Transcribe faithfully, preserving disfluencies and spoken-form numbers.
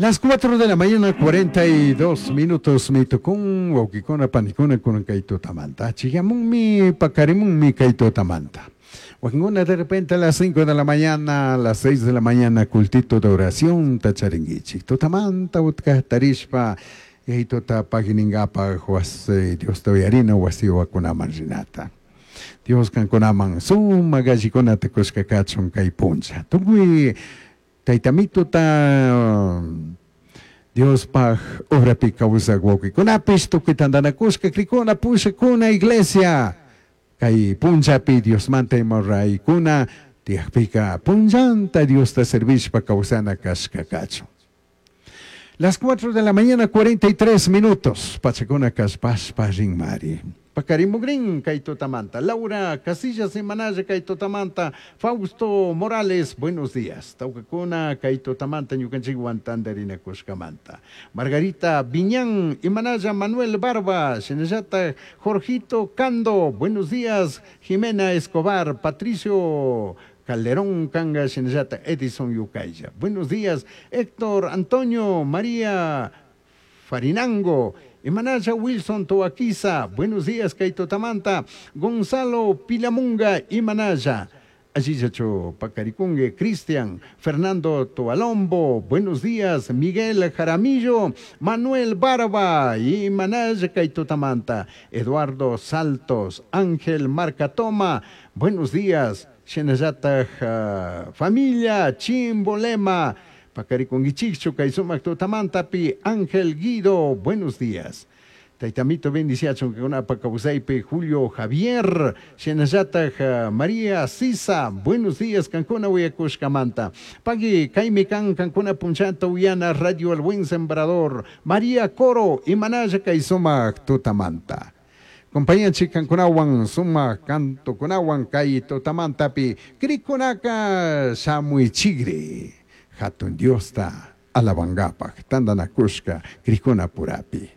Las cuatro de la mañana, cuarenta y dos minutos, mi tukun, wawkikuna, panikuna, kunan kay tutamanta. Chigamunmi, pakarimunmi kay tutamanta. Wakinkuna de repente a las cinco de la mañana, a las seis de la mañana, cultito de oración tacharinguichik. Tutamanta utka tarishpa, tuta paginingapaj wasi Dios uyarina wasiwakunaman rinata. Dios kankunaman sumak allikunata kushka kachun kay puncha. Tukuy taytamituta Diospaj obrapi kawsak wawkikunapish tukuy tantanakushka krikuna pushakuna iglesia kay punchapi Diosmanta ima raykuna tiyakpika punllanta Diosta servishpa kawsana kashka kachun. Las cuatro de la mañana, cuarenta y tres minutos. Pachakuna kallpashpa rinmari. Pakarimugrin kay tutamanta. Laura Casillas Imanaya kay tutamanta. Fausto Morales, buenos días. Tawkakuna kay tutamanta ñukanchikwan tantarinakushkamanta. Margarita Viñán, Imanaya Manuel Barba, shinallata Jorgito Cando, buenos días. Jimena Escobar, Patricio Calderón Kanga, shinallata Edison Yucaya. Buenos días, Héctor Antonio María Farinango, Imanaya Wilson Toaquiza, buenos días, kay tutamanta, Gonzalo Pilamunga, Imanaya. Allillachu Pacarikungue, Cristian, Fernando Toalombo, buenos días, Miguel Jaramillo, Manuel Barba, Imanaya kay tutamanta, Eduardo Saltos, Ángel Marcatoma, buenos días, shinallata uh, familia Chimbolema, Pacarikunguichichu kay sumak tutamantapi, Ángel Guido, buenos días. Taytamito bendiciachun kankunapa kawsaypi Julio Javier, shinallata María Sisa, buenos días kankuna uyakushkamanta. Pagui, kaymi kan kankuna punchanta uyana Radio El Buen Sembrador, María Coro, imanalla kay sumak tutamanta. Compañanchik kankunawan sumak cantokunawan kay tutamantapi krikunaka shamuichigri hatun Diosta alabankapaj tantanakushka krikuna purapi.